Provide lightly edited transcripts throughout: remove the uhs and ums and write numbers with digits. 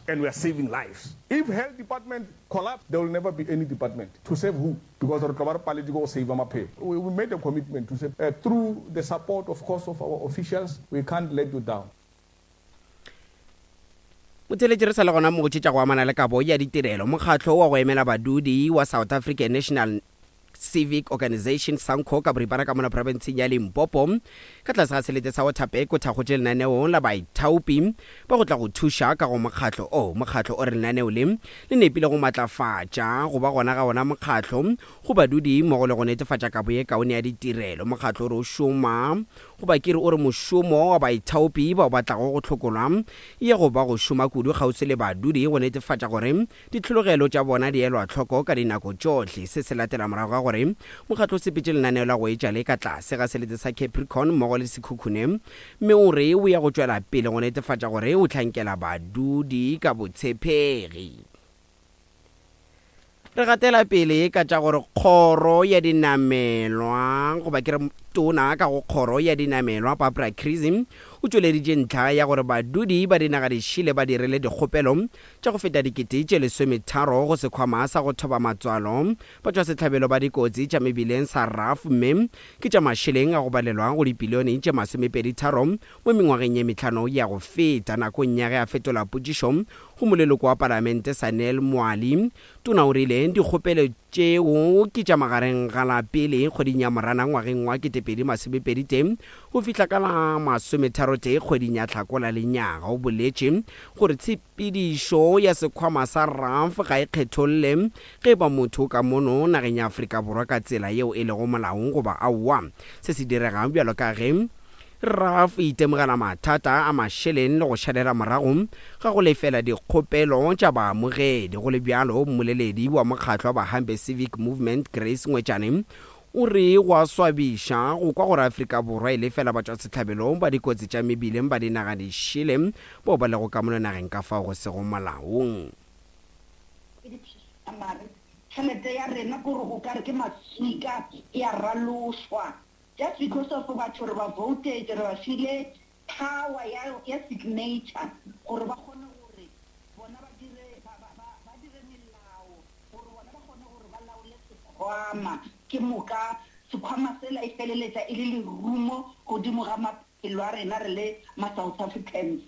and we are saving lives. If health department collapse, there will never be any department. To save who? Because re tlo ba re paletše ke go saver maphelo. We, we made a commitment to say, uh, through the support, of course, of our officials, we can't let you down. Motheletši re sa le gona mo go tše tša go amana le kabo ya ditirelo. Mokgatlo wa go emela badudi wa South African National Civic Organisation, SANCO, ka boripana ka mona profenseng ya Limpopo ka tlase ga selete sa Waterberg o thakgotše lenaneo la baithaopi ba go tla go thuša ka go mokgatlo o. Mokgatlo o re lenaneo le le nepile go matlafatša go ba gona ga ona mokgatlo go badudi mmogo le go netefatša kabo ye kaone ya ditirelo. Mokgatlo o re o šoma goba ke re o re mošomo wa baithaopi bao ba tlago go hlokolwa ye go ba go šoma kudu kgauswi le badudi go netefatša gore Ditlhologelo tša bona di elwa hloko ka dinako tšohle. Se se latela morago ga gore mokgatlo o sepetše lenaneo la go etša le ka tlase ga selete sa Capricorn mmogo le Sekhukhune mme o re o ya go tšwela pele go netefatša gore o hlankela badudi ka botshepegi. Re gatela pele ka tša gore kgoro ya dinamelwa goba ke re tona ka go kgoro ya dinamelwa Barbara Creecy o tšweleditše ntlha ya gore badudi ba dinaga dišele ba dirile dikgopelo tša go feta dikete tše lesometharo go sekhwama sa go thoba matswalo batšwasehlabelo ba dikotsi tša mebileng sa RAF mme ke tša mašeleng a go balelwa go dipilione tše masomepeditharo mo mengwageng ye mehlano ya go feta. Nakong ya ge a fetola potšišo go moleloko wa palamente Sanel Mwali, tona o rile dikgopelo tšeo ke tša magareng ga la pele kgweding ya Moranang ngwageng wa 2021 go fihla ka la masometharotee kgweding ya Hlakola lenyaga. O boletše gore Tshepedišo ya sekhwama sa RAF ga e kgetholle ge e ba motho o ka mono nageng ya Afrika Borwa ka tsela yeo e lego molaong goba aowa. Se se direga bjalo ka ge RAF e itemogela mathata a mašeleng le go šalela morago ga go lefela dikgopelo tša baamogedi. Go le bjalo, mmoleledi wa mokgatlo wa Bahambe Civic Movement Grace Ngwetšane O re go a swabiša go kwa gore Afrika Borwa e lefela batšwasehlabelo ba dikotsi tša mebileng ba dinaga dišele bao ba lego ka mono nageng ka fao go sego molaong. Mare tšhelete ya rena kore o kare ke maswika e a ralošwa just because of batho re ba votetše re ba file power ya ya signature gore ba kgone gore bona ba dire ba ba ba dire melao gore bona ba kgone gore ba laole sekhwama, ke moka sekhwama sela e feleletša e le lerumo godimo ga maphelo a rena re le ma-South Africans.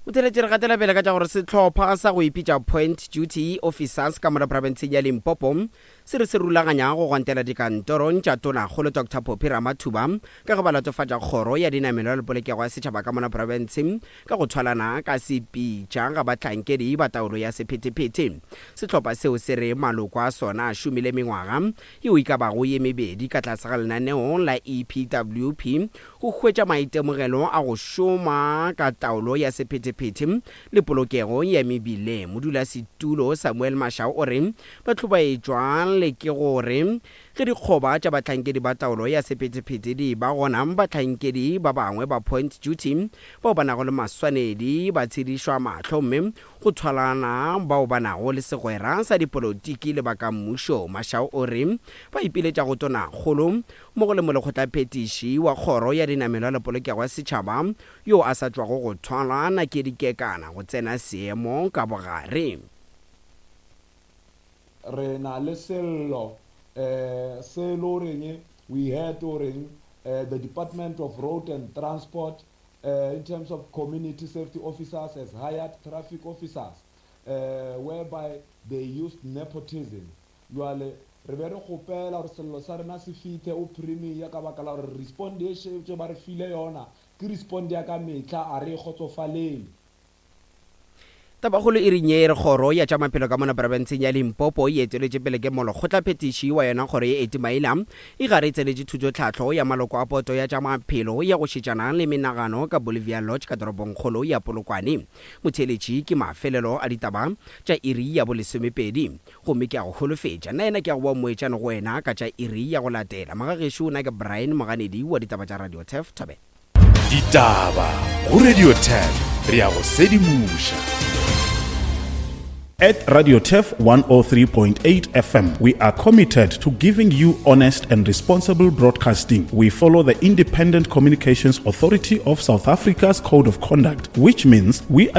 Motheeletši re gatela pele ka tša gore sehlopha sa go ipitša Point Duty Officers ka mola profenseng ya Limpopo se re se rulaganya go gwantela dikantorong tša Tonakgolo Doctor Phophi Ramathuba ka ge ba latofatša kgoro ya dinamelwa le polokego ya setšhaba ka mola profenseng ka go thwalana ka sepitša ga bahlankedi ba taolo ya sephethephethe. Sehlopha seo se re maloko a sona a šomile mengwaga yeo e ka bago ye mebedi ka tlase ga lenaneo la EPWP go hwetša maitemogelo a go šoma ka taolo ya sephethephethe le polokego ya mebileng. Modulasetulo Samuel Mashao o re ba hlobaetšwa le ke gore Ge dikgoba tša bahlankedi ba taolo ya sephethephethe di eba gona, bahlankedi ba bangwe ba point duty bao ba nago le maswanedi ba tshedišwa mahlo mme go thwalana bao ba nago le segwera sa dipolotiki le ba ka mmušo. Mashau o re ba ipiletša go Tonakgolo mmogo le Molekgotlaphethiši wa Kgoro ya Dinamelwa le Polokego ya Setšhaba yo a sa tšwago go thwalwa Nakedi Kekana go tsena seemo ka bogare. Re na le sello um se e le goreng we heard goreng um the Department of Road and Transport um in terms of community safety officers has hired traffic officers um whereby they used nepotism. Jwale re be re kgopela gore sello sa rena se fithe o Premier ka baka la gore respond ye šetše ba re file yona ke respond ya ka mehla a re e kgotsofalele. Tabakgolo e reng ye e re kgoro ya tša maphelo ka mona profenseng ya Limpopo e eteletše pele ke molekgotlaphethiši wa yona kgoro ye Eti Maila e gare e tsenetše thutotlhahlo ya maloko a poto ya tša maphelo ya go šetšana le menagano ka Bolivia Lodge ka toropongkgolo ya Polokwane. Motheeletši ke mafelelo a ditaba tša iri ya bolesomepedi gomme ke a go holofetša nna yena ke a go boa moetšane go wena ka tša iri ya go latela. Magagešo na ke Brian Moganedi wa ditaba tša Radio Turf Thobela. Ditaba go Radio 10 re a go sedimoša. At Radio Turf 103.8 FM, we are committed to giving you honest and responsible broadcasting. We follow the Independent Communications Authority of South Africa's Code of Conduct, which means we are